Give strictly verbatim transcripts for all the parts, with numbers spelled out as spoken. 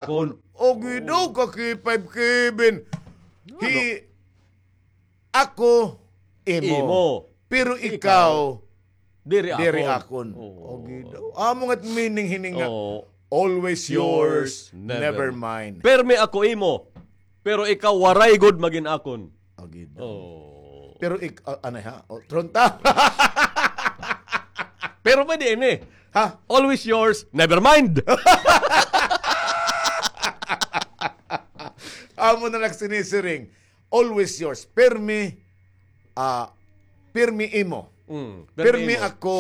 akon. Ogi daw ka K five Kevin. Hi ako imo. Imo. Pero ikaw, diri akon. Diri akon. Oo. Ogi daw. Amo nga't meaning hini nga. Oo. Always yours, never mine. Permi ako imo. Pero ikaw waray gud magin akon. Ogi daw. Oo. Pero ik-, ah, ano ha? O, tronta. Pero pwede ini. Ha? Always yours, never mind. Amo na lang sinisiring. Always yours. Permi, ah, permi imo. Mm, permi imo. Permi ako.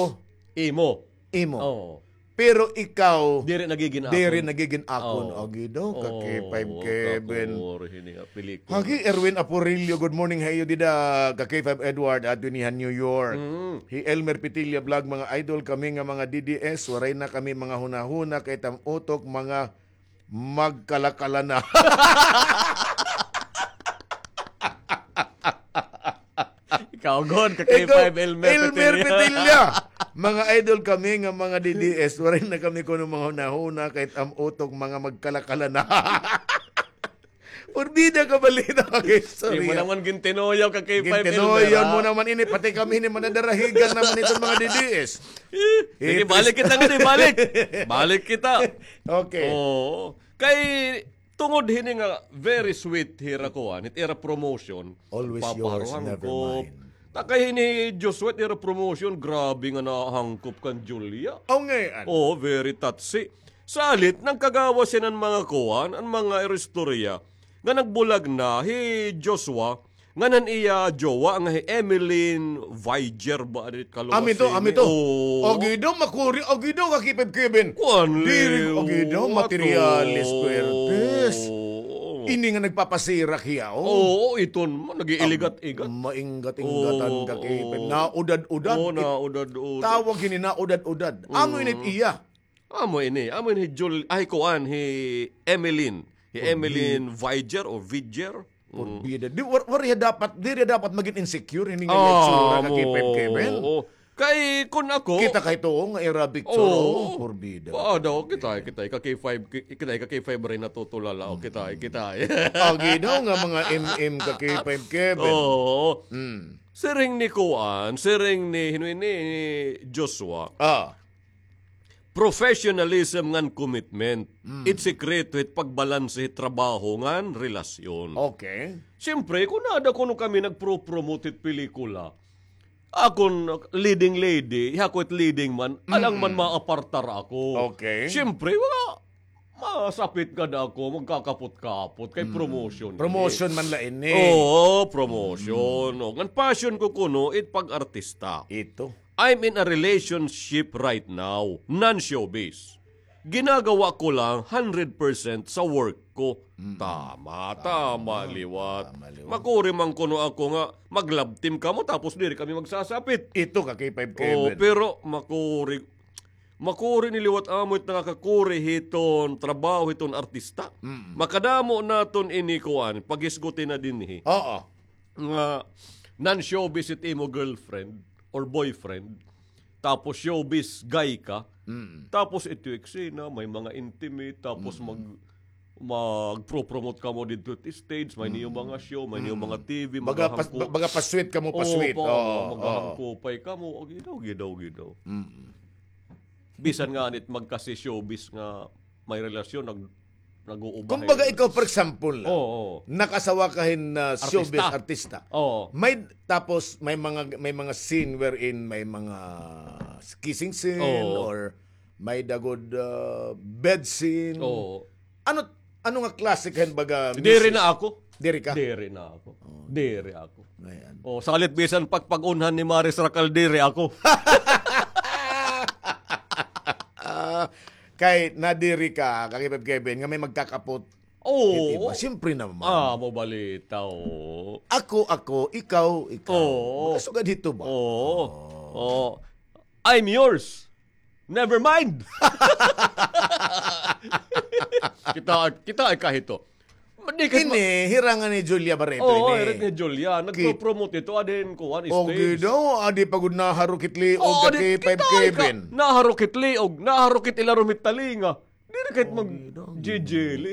Imo. Imo. Oo. Pero ikaw, diri nagigin akon. Diri nagigin akon. Oo. Agi daw, ka K five Kevin. Kakuri hini nga pelikula. Hagi, Erwin Apurillo, good morning ha iyo dida, ka K five Edward, adto ini ha New York. Mm. Hi Elmer Pitilla Vlog, mga idol kami nga mga D D S, waray na kami mga hunahuna, kay it am utok, mga magkalakala na. Ikaw, gud, ka K five Elmer Petilla. Mga idol kami nga mga D D S, waray na kami kuno mga hunahuna, kay it am utok, mga magkalakala na. Purbida ka balita, mga istorya. Di mo naman gintinuyaw ka K five Elmer, ha? Gintinuyaw mo naman ini, pati kami ini, manadarahigan naman iton mga D D S. Sige, balik kita nga, di balik. Balik kita. Okay. Oo. Kay, tungod hini nga very sweet hira kuan, it ira promotion. Always yours, never mine. Ta kay hini Joshua, it ira promotion, grabe nga nahangkop kan Julia. Aw, ngay-an. Oo, very touchy. Salit, nagkagawas hiya han mga kuan, an mga ira istorya, nga nagbulag na hi Joshua, ngan an iya jowa nga hi Emeline Viger ba, adi it kaluwas hini? Amo ito, amo ito. Oo. Agi daw, makuri, agi daw, ka K five Kevin. Kuan, diri, agi daw, materialis, puwertes. Oo. Ini nga nagpapasirak hiya, oh. Oo, iton, nag-iiligat-igat. Mainggat-inggatan ka, K five. Oo. Naudad-udad. Oo, naudad-udad. Tawag hini, naudad-udad. Ano ini it iya? Amo ini, amo ini hi Jul-, ay, kuan, hi Emeline. Hi Emeline Viger o Viger. Purbida. Di, war-, waray dapat, diri dapat magin insecure, hini nga itsura ka K five Kevin. Oo. Kay, kun ako, kita kay tuo nga ira picture, oh, purbida. Ah, daw, kita, kita, ka K five, ki-, kita, ka K five rin natutulala, o, kita, kita. Agi daw nga mga M M ka K five Kevin. Oo. Mm. Siring ni kuan, siring ni, hino ini, ni Joshua. Ah. Professionalism ngan commitment. Mm. It sikreto hit pagbalanse hit trabaho ngan relasyon. Okay. Siyempre, kun ada kuno kami nagpro-promote hit pelikula, akon leading lady, ako it leading man, alang man maapartar ako. Okay. Siyempre, wala, masapit gad ako, magkakapot-kapot, kay promotion. Promotion man la ini. Oo, promotion. O, ngan passion ko kuno, it pag-artista. Ito. I'm in a relationship right now, non-showbiz. Ginagawa ko lang hundred percent sa work ko. Mm. Tama, tama liwat. Tama liwat. Makuri man kuno ako nga mag-love team kamo tapos diri kami magsasapit. Ito ka, K five Kevin. Oo, pero makuri, makuri ni liwat amo it nakakakuri hiton trabaho hiton artista. Mm. Makadamo naton ini kuan, paghisguti na dinhi. Oo. Nga non-showbiz it imo girlfriend or boyfriend, tapos showbiz guy ka, tapos ito eksena, may mga intimate, tapos mag-, magpro-promote kamo didto it stage, may niyo mga show, may niyo mga T V, maghahangko-, baga pa-sweet kamo, pa-sweet. Oo, maghahangkopay kamo, o, gidaw, gidaw, gidaw. Mm. Bisan nga nit magkasi-showbiz nga may relasyon, nag-, nag-uubahay. Kumbaga, ikaw, for example, nakasawa ka hin, ah, showbiz artista. Oo. May, tapos may mga, may mga scene wherein may mga kissing scene or may dagod, ah, bed scene. Oo. Ano, ano nga klase ka hin baga? Diri na ako. Diri ka? Diri na ako. Oh. Diri ako. Ayan. O, salit bisan pagpag-unhan ni Maris Racal, diri ako. Ah, kay nadiri ka, ka K five Kevin, nga may magkakapot. Oo. Di ba? Siyempre naman. Ah, mabalita, oo. Ako, ako, ikaw, ikaw. Oo. Makasugad hito ba? Oo. Oo. I'm yours. Never mind. Kita, kita ay kahito. Ini, hira nga ni Julia Barreto ini. Oo, hira ni Julia. Nagpo-promote ito, adi hin kuan, stage. O, gidaw, adi pa gud naharukit liog ka K five Kevin. Naharukit liog, naharukit ilarom hit talinga. Di Diri na kay mag-jijili.